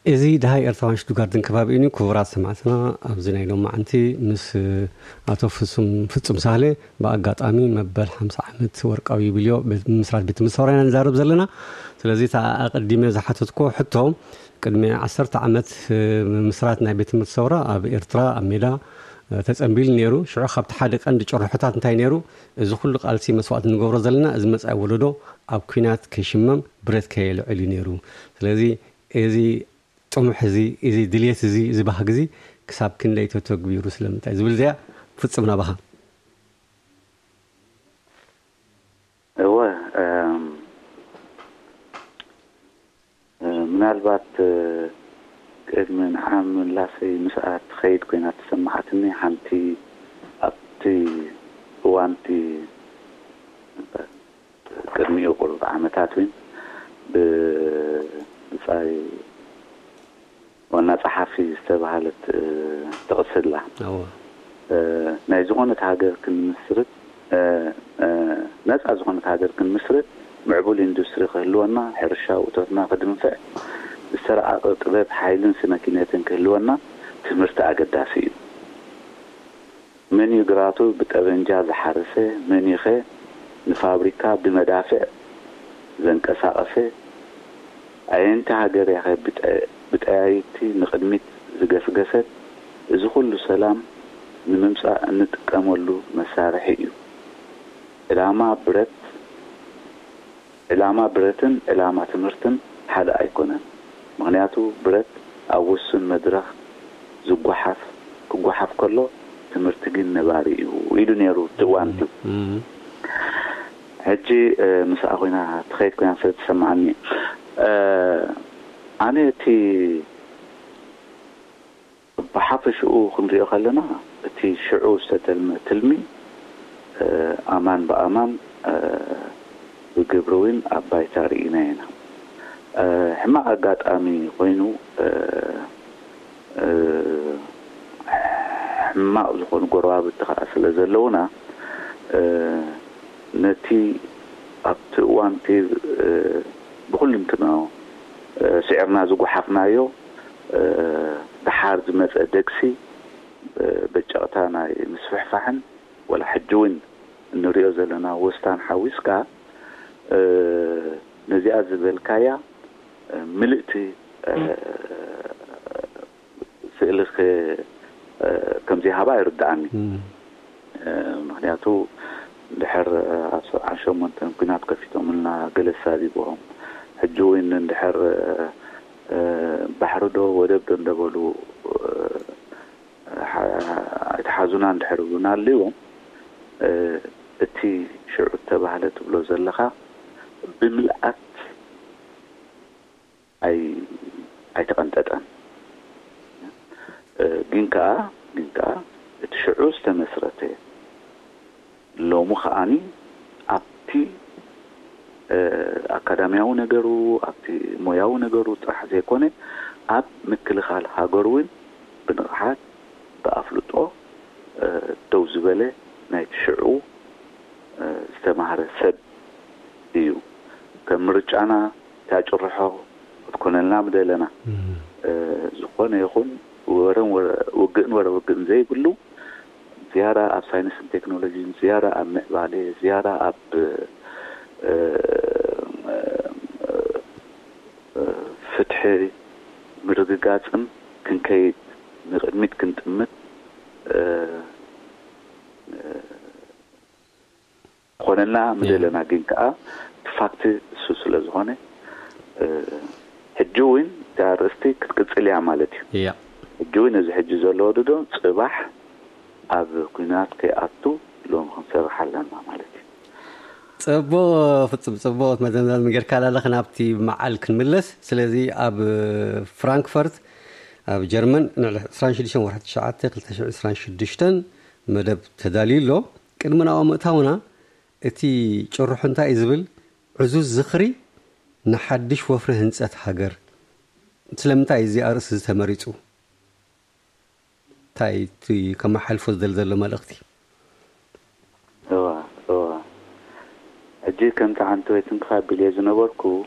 እዚ ደሃይ ኤርትራውያን ሽቱትጋርትን ከባቢኡን እዩ። ክቡራት ሰማዕትና፣ ኣብዚ ናይ ሎማዓንቲ ምስ ኣቶ ፍጹም፣ ፍጹም ሳህለ ብኣጋጣሚ መበል ሓምሳ ዓመት ወርቃዊ ዩብልዮ ቤት፣ ምስራት ቤት ትምህርቲ ሰውራ ኢና ንዛረብ ዘለና። ስለዚ፣ እታ ኣቐዲመ ዝሓተትኮ ሕቶ፣ ቅድሚ ዓሰርተ ዓመት፣ እ፣ ምስራት ናይ ቤት ትምህርቲ ሰውራ ኣብ ኤርትራ፣ ኣብ ሜዳ፣ እ፣ ተጸንቢሉ ነይሩ። ሽዑ ካብቲ ሓደ ቀንዲ ጭርሖታት እንታይ ነይሩ? እዚ ኩሉ ቃልሲ መስዋእቲ ንገብሮ ዘለና፣ እዚ መጻኢ ወለዶ ኣብ ኲናት ከይሽመም፣ ብረት ከየልዕል እዩ ነይሩ። ስለዚ፣ እዚ ጥሙሕ እዚ፣ እዚ ድልየት እዚ፣ እዚ ባህጊ እዚ ክሳብ ክንደይ ተተግቢሩ፣ ስለምንታይ ዝብል እዚኣ ፍጹም ናባኻ። እወ፣ እም፣ እ፣ ምናልባት፣ እ፣ ቅድሚ ንዓ ምላሰይ ምስኣ ትኸይድ ኮይና ተሰማዓትኒ ሓንቲ ኣብቲ እዋንቲ ቅድሚኡ ቁሩብ ዓመታት እውን ብ-፣ ብጻይ ዋና ጸሓፊ ዝተባህለት፣ እ፣ ጥቕሲ ኣላ። እወ። እ፣ ናይ ዝኾነት ሃገር ክንምስርት፣ እ፣ እ፣ ነጻ ዝኾነት ሃገር ክንምስርት ምዕቡል ኢንዱስትሪ ክህልወና፣ ሕርሻ ውእቶትና ክድንፍዕ፣ ዝተረቓቐ ጥበብ፣ ሓይልን ስነ ኪነትን ክህልወና ትምህርቲ ኣገዳሲ እዩ። መን እዩ ግራቱ ብጠበንጃ ዝሓረሰ? መን እዩኸ ንፋብሪካ ብመዳፍዕ ዘንቀሳቐሰ? ኣየንቲ ሃገር እያኸ ብጠ-፣ ብጠያይቲ ንቕድሚት ዝገስገሰት? እዚ ኩሉ ሰላም ንምምጻእ እንጥቀመሉ መሳርሒ እዩ። ዕላማ ብረት፣ ዕላማ ብረትን ዕላማ ትምህርትን ሓደ ኣይኮነን። ምኽንያቱ ብረት ኣብ ውሱን መድረኽ ዝጓሓፍ፣ ክጓሓፍ ከሎ፣ ትምህርቲ ግን ነባሪ እዩ ኢሉ ነይሩ እቲ እዋንቲ። እም። ሕጂ፣ እ፣ ምስኣ ኮይና ትኸይድ ኮይና ስለ ትሰማዓኒ፣ እ፣ ኣነ እቲ ብሓፈሽኡ ክንሪኦ ከለና፣ እቲ ሽዑ ዝተተልመ ትልሚ፣ እ፣ ኣማን ብኣማን፣ እ፣ ብግብሪ እውን ኣብ ባይታ ርኢና ኢና። እ፣ ሕማቕ ኣጋጣሚ ኮይኑ፣ እ፣ እ፣ ሕማቕ ዝኾኑ ጎረባብቲ ከኣ ስለ ዘለውና፣ እ፣ ነቲ ኣብቲ እዋንቲ፣ እ፣ ብኹልንትናኡ፣ እ፣ ስዒርና ዝጓሓፍናዮ፣ እ፣ ደሓር ዝመጸ ደግሲ፣ እ፣ በጨቕታ ናይ ምስፍሕፋሕን ወላ ሕጂ እውን እንሪኦ ዘለና ወስታን ሓዊስካ፣ እ፣ ነዚኣ ዝበልካያ፣ እ፣ ምልእቲ፣ እ፣ ስእሊ ከ-፣ እ፣ ከም ዘይሃባ ይርድኣኒ። እም። እ፣ ምኽንያቱ፣ እንድሕር፣ እ፣ ኣብ ሰብዓን ሸሞንተን ኲናት ከፊቶምልና፣ ገለ ሳቢቦም፣ ሕጂ እውን እንድሕር፣ እ፣ እ፣ ባሕሪ ዶ ወደብ ዶ እንደበሉ፣ እ፣ ሓ-፣ ኣይትሓዙና እንድሕር ይብሉና ኣለዎም፣ እ፣ እቲ ሽዑ እተባህለ ትብሎ ዘለኻ ብምልኣት ኣይ-፣ ኣይተቐንጠጠን። እ፣ ግን ከኣ፣ ግን ከኣ እቲ ሽዑ ዝተመስረተ፣ ሎሚ ከኣኒ ኣብቲ፣ እ፣ ኣካዳሚያዊ ነገሩ፣ ኣብቲ ሞያዊ ነገሩ ጥራሕ ዘይኮነ፣ ኣብ ምክልኻል ሃገሩ እውን ብንቕሓት፣ ብኣፍልጦ፣ እ፣ ደው ዝበለ ናይቲ ሽዑ፣ እ፣ ዝተማህረ ሰብ እዩ። ከም ምርጫና እታ ጭርሖ ክትኮነልና ምደለና። እም። እ፣ ዝኾነ ይኹን ወረን ወረ-፣ ውግእን ወረ ውግእን ዘይብሉ፣ ዝያዳ ኣብ ሳይንስን ቴክኖሎጂን፣ ዝያዳ ኣብ ምዕባለ፣ ዝያዳ ኣብ፣ እ፣ እ፣ ፍትሒ ምርግጋጽን ክንከይድ፣ ንቕድሚት ክንጥምት፣ እ፣ እ፣ ኮነና ምደለና፣ ግን ከኣ እቲ ፋክት እሱ ስለ ዝኾነ፣ እ፣ ሕጂ እውን እታ ኣርእስቲ ክትቅጽል እያ ማለት እዩ። እያ። ሕጂ እውን እዚ ሕጂ ዘሎ ወለዶ ጽባሕ ኣብ ኲናት ከይኣቱ ሎሚ ክንሰርሕ ኣለና ማለት እዩ። ጽቡቕ፣ ፍጹም ጽቡቕ መደምደሚ ጌርካላ ኣለኻ። ናብቲ መዓል ክንምለስ። ስለዚ ኣብ ፍራንክፈርት ኣብ ጀርመን ንዕሊ ዕስራን ሽዱሽተን ወርሒ ትሽዓተ ክልተ ሽሕን ዕስራን ሽዱሽተን መደብ ተዳልዩ ኣሎ። ቅድሚ ናብኡ ምእታውና እቲ ጭርሖ እንታይ እዩ ዝብል? ዕዙዝ ዝኽሪ ንሓድሽ ወፍሪ ህንጸት ሃገር። ስለምንታይ እዚ ኣርእስቲ እዚ ተመሪጹ? እንታይ እቲ ከመሓልፎ ዝደሊ ዘሎ መልእኽቲ? እዋ፣ እዋ። ሕጂ ከምቲ ዓንተወይ ትንክፍ ኣቢለዮ ዝነበርኩ፣